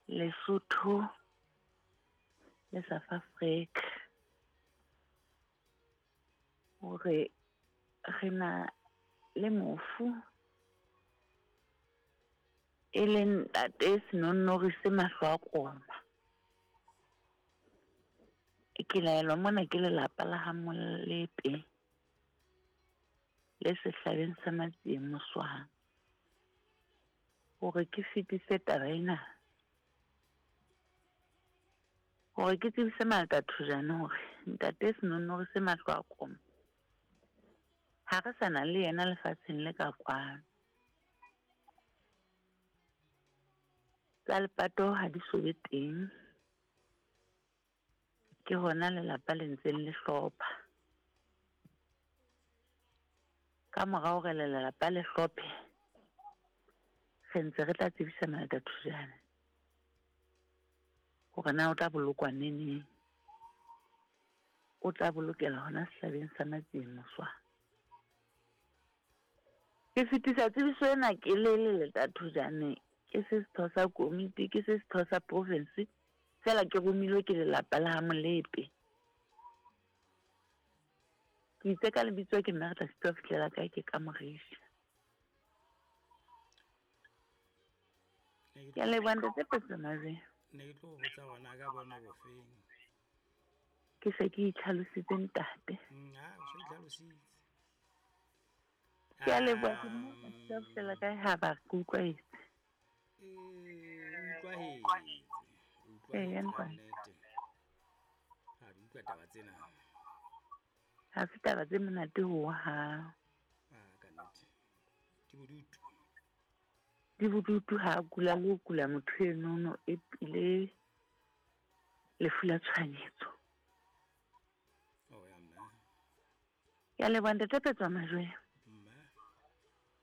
Lesotho le South Africa hore re na le mofu e leng ntate Senonnori se mahlo a koma. Ke laelwa mona ke lelapa la ha Molepe le sehlabeng sa Matsieng Moswang hore ke fetise taba ena hore ke tsebise Malta Thojane hore ntate Senonnori se mahlo a koma ha re sa na le yena lefatsheng le ka kwano. Tsa lepato ha di so be teng. Ke hona lelapa le ntseng le hlopha. Ka mora hore lelapa le hlophe, re ntse re tla tsebisa Malta Thojane hore na o tla bolokwa neneng. O tla bolokela hona sehlabeng sa Matsieng Moswang. Ke fetisa tsebiso ena ke le Leleta Thojane, ke se setho sa komiti, ke se setho sa province, feela ke romilwe ke lelapa la ha Molepe. Ke itse ka lebitso ke nna re tla sitwa ho fihlela kae ke ka Morisha. Ke a leboha Ntate Petso Mabe. Ne ke tlo botsa hore na ka boemo bofeng. Ke se ke itlhalositse ntate. Ha o so itlhalositse. Ke a leboha ke nna ka sitwa ho fihlela kae ha ba re ke utlwahetse. Ee, utlwahetse. Eya Utlwahetse ka ntate. nnete. Ha di utlwa taba tsena. Ha se taba tse monate hohang. Ah, ka nnete. Di bodutu. Di bodutu ha a kula le ho kula motho enono e pile lefu la tshohanyetso. Oh ya mme. Ke a leboha Ntate Petswa Majwe.